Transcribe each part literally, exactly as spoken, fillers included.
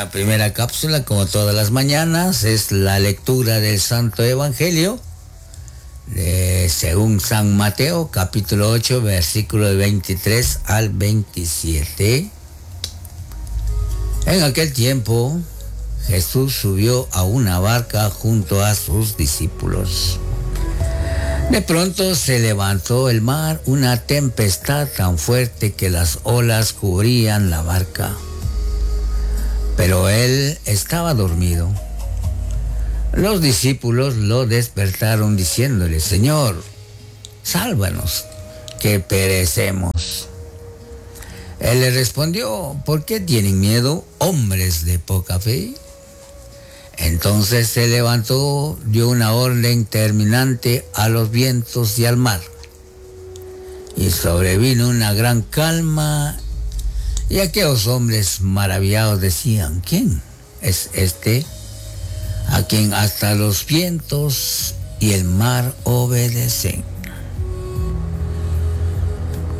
La primera cápsula, como todas las mañanas, es la lectura del Santo Evangelio de según San Mateo, capítulo ocho, versículo veintitrés al veintisiete. En aquel tiempo, Jesús subió a una barca junto a sus discípulos. De pronto se levantó el mar, una tempestad tan fuerte que las olas cubrían la barca. Pero él estaba dormido. Los discípulos lo despertaron diciéndole: Señor, sálvanos, que perecemos. Él le respondió: ¿Por qué tienen miedo, hombres de poca fe? Entonces se levantó, dio una orden terminante a los vientos y al mar. Y sobrevino una gran calma, y aquellos hombres maravillados decían: ¿Quién es este a quien hasta los vientos y el mar obedecen?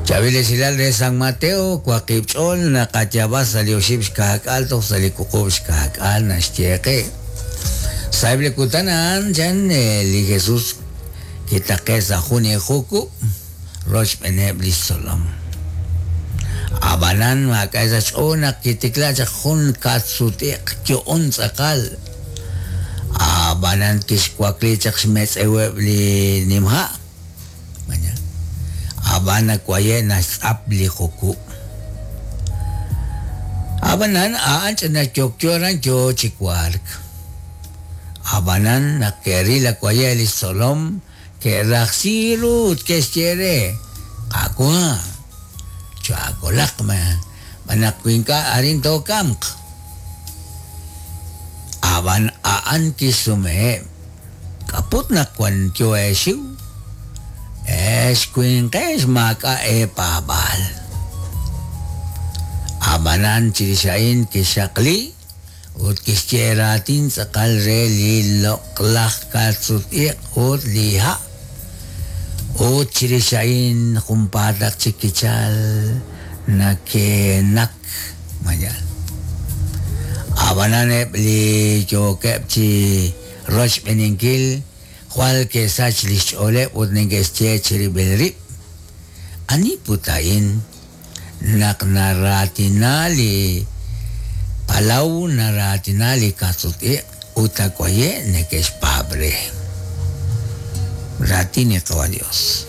Chaviles hilal de San Mateo, Cuaquipchol, Nakachaba, salió Shibshkak, Alto, Salikukubshkak, Nashcheque. Saible Kutanan, Jan, el Jesús, Kitaquesa, Juni, Juku, Rosh Benebli Solom. Abanan, Makaisa, Chona, Kitiklacha, Jun, Katsutik, Kyon, Sakal. Abanan, Kishkwaklichak, Shmetz, Ewebli, Nimha. Abana kwayena sapli juku. Abanan aanch na chokchoran cho chikwark. Abanan na kerila kwayeli solom que raxirut que chere. Akua. Chakolakma. Manakwinka arin to kamk. Aban aan kisume. Kaput na kwan kyo eshiu. Escuinques maka e pabal. Abanan chirishain kishakli ut kishcheratin sakal re li loklach katsut ut liha. Ut chirishain kumpatak chikichal nakenak mayal. Abanan li chokep chi roch beninkil. Jual que sach lichole utningesche chiribelrip. Ani putain nak naratinali palau naratinali katsuti utakoye nekesh pabre. Ratini kawa Dios.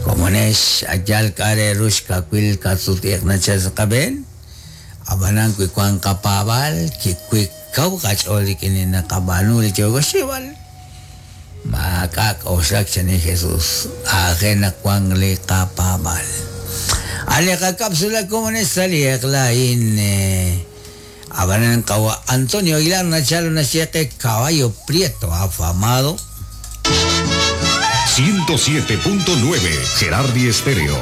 Como nesh ayal kare rush kakwil katsuti nachas kabel. Abanan kwikwan kapabal kikwik kau kacholi kinina kabanuli chogoshiwal. Makak osak ni Jesús ajena cuan le kapabal. Aleja cápsula como en esta in abanan kawa Antonio Aguilar Nachalo Nacheque Caballo Prieto afamado. ciento siete punto nueve Gerardi Estéreo.